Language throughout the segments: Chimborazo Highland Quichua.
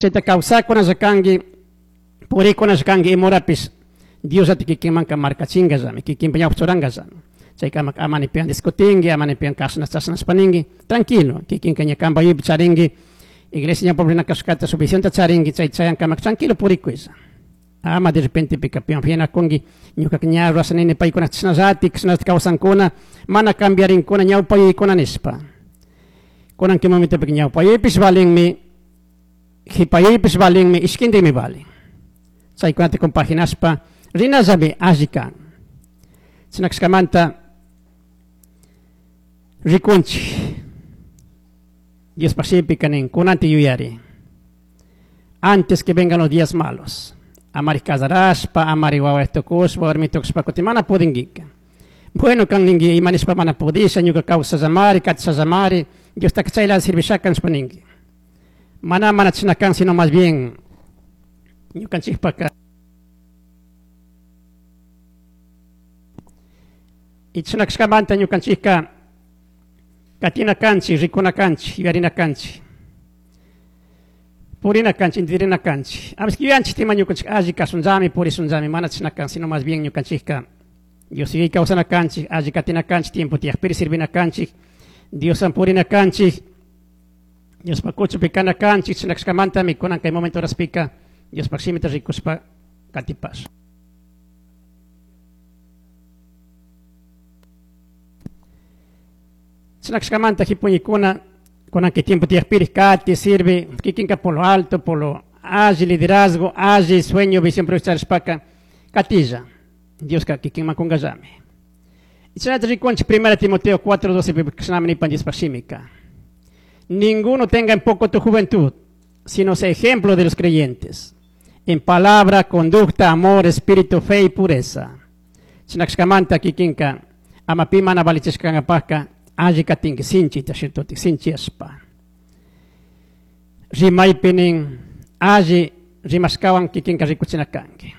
Chaita causacunalla cangui, puricunalla cangui, imurapish Diosllata kikinmanka marcachingallami, kikinpa ñawpa churangallami. Chayka ama ama ni piwan discutingui, ama ni piwan kashna chashnashpa ningui, tranquilo, kikinka ña kanpa yuyaypi charingui, iglesia ñawpa rina kashkata su visionta charingui, chay chayankamak tranquilo purikuylla. Ama de repente pika piwan phiñanakungui, ñukaka ña rurasha nini paykuna chashnallatik, chashnallatik kawsankuna, mana cambiarinkuna ñawpa yuyaykuna nishpa. Kunan kay momentopika ñawpa yuyaypish valinmi, Jipayuypish valinmi, ishquindimi valin. Chaicunata compaginashpa rinallami alli can. Chashna cashcamanta ricunchij. Diospaj shimipica nin, cunanti yuyari. Antes que vengan los días malos. Amari cazarashpa, amari huahua tucushpa, warmi tucushpa cutin mana pudinguica. Bueno can ningui, ima nishpa mana pudisha, ñuca causallamari, catishallamari, Diostaca chayla sirvishaca nishpa ningui. Mana mana chashna can, sino más bien ñucanchijpaca y chashna cashcamanta ñucanchijca catina canchij, ricuna canchij, yuyarina canchij, purina canchij, entendirina canchij. A veces yuyanchij ima ñucanchij alli cashunllami, purishunllami, mana chashna can, sino más bien ñucanchijca Dios yuyay causana canchij, alli catina canchij, tiempo tiyajpiri sirvina canchij, Dioswan purina canchij. Diospaj cuchupi cana canchij, chashna cashcamantami cunan cai momento horaspica Diospaj shimita ricushpa catipash. Chashna cashcamanta jipuñicuna cunan cai tiempo tiyajpiri cati, sirvi, kikinka por lo alto, por lo alli liderazgo, alli sueño, visión charishpaca catilla. Diosca kikinman cungallami. Chashnata ricunchij Primera Timoteo 4:12 cashnami nipan Diospaj shimica. Ninguno tenga en poco tu juventud, sino sea ejemplo de los creyentes, en palabra, conducta, amor, espíritu, fe y pureza. Chashna cashcamanta kikinka ama pi mana valichishca cangapajca alli catingui sinchita shirtuti sinchiyashpa. Rimaypi nin alli rimashcahuan kikinka ricuchina cangui.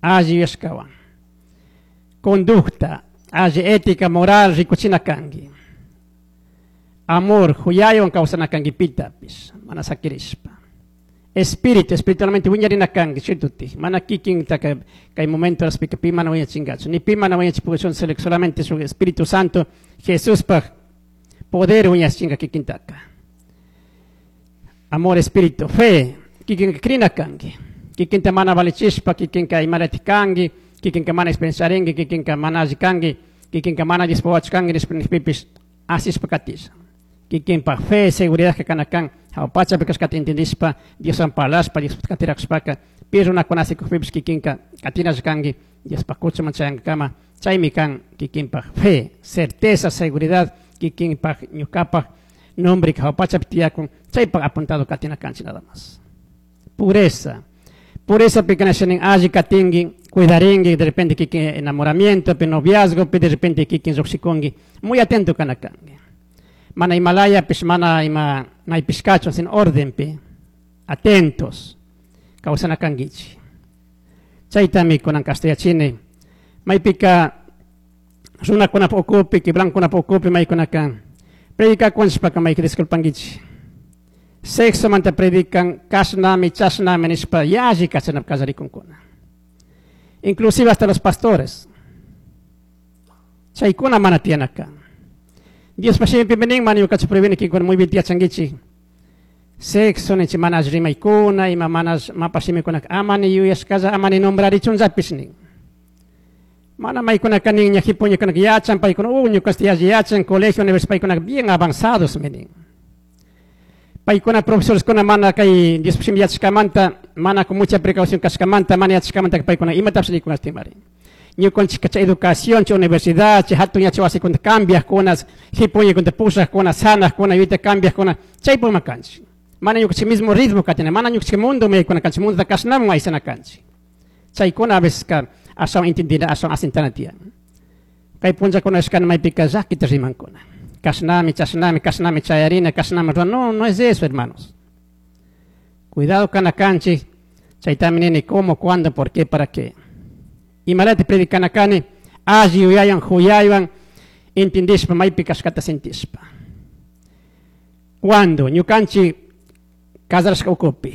Alli yuyashcahuan. Conducta, alli ética, moral ricuchina cangui. Amor, juyaihuan causana cangui pitapish, mana saquirishpa. Espíritu, espiritualmente wiñarina cangui, cierto? Mana kikin kay momento horaspika pi mana wiñachingachu, ni pi mana wiñachipukchun, solamente su Espíritu Santo, Jesuspaj poder wiñachinga kikintaka. Amor, espíritu, fe, kikinka crina cangui. Kikinta mana valichishpa, kikinka imalatik cangui, kikinka mana experiencia charingui, kikinka mana alli cangui, kikinka mana Diospa wawachu cangui nishpa nijpipish asishpa katisha. Kikinpaj fe, seguridad kana kan, jahua pachapi cashcata entendishpa, Dioswan parlashpa, Diospaj catiracushpaca, pi runacuna asikujpipish kikinka catinalla cangui, Diospaj cuchuman chayangacama, chaymi kan kikinpaj fe, certeza, seguridad, kikinpaj ñucapaj nombre jahua pachapi tiyakun, chaypaj apuntado katina canchik nada más. Pureza. Pureza pi nin alli katingui, cuidaringui, de repente kikin enamoramiento, pi noviazgo, pi de repente kikin llujshikungui, muy atento kana kangui. Mana imalayapish, mana ima maypish kachun, sino ordenpi, atentos, kawsana kanguichik. Chaytami kunan kastayachini. Maypika runakunapa ukupi, quebrankunapa ukupi maykunaka predicakunchpaka mayka disculpanguichik. Sexomanta predican, kashnami, chashnami nishpa yalli kachanap kallarikunkuna. Inclusive hasta los pastores. Chaykuna mana tiyana kan. Diospa shimipi nin, mana ñukachu prohibini kinkuna muy bien tiyachanguichik. Sexo ninchik mana alli rimaykuna, ima mana mapa shimikunaka ama ni yuyashkalla, ama ni nombrarichunllapish nin. Mana maykunaka nin, ña jipuñakunaka yachan, paykuna, ñukaste yalli yachan, colegio, universidad, paykunaka bien avanzados mi nin. Paykuna profesoreskuna mana kay Diospa shimi yachashkamanta, mana con mucha precaución kashkamanta, mana yachashkamanta paykuna imatapish nikunashtimari. Ñukanchik chay educación, chay universidad, chay hatun yachay wasikunata cambiajkuna, jipuñakunata pushajkuna, sanajkuna, yuyayta cambiajkuna, chaypukma kanchik. Mana ñukanchik mismo ritmo katina, mana ñukanchik mundo maykuna kanchik, mundota kashnaman aysana kanchik. Chaykuna a veces ka ashawan entendina, ashawan asintana tiyan. Kay punllakuna ashkana maypika llakita rimankuna. Kashnami, chashnami, kashnami chayarina, kashnami ruana. No, no es eso, hermanos. Cuidado kana kanchik, chaytami nini cómo, cuándo, por qué, para qué. Imalati predicana kani, alli yuyaywan, juyaywan, entendishpa, maypi kashkata sintishpa. Cuando ñukanchik Casarashka ukupi.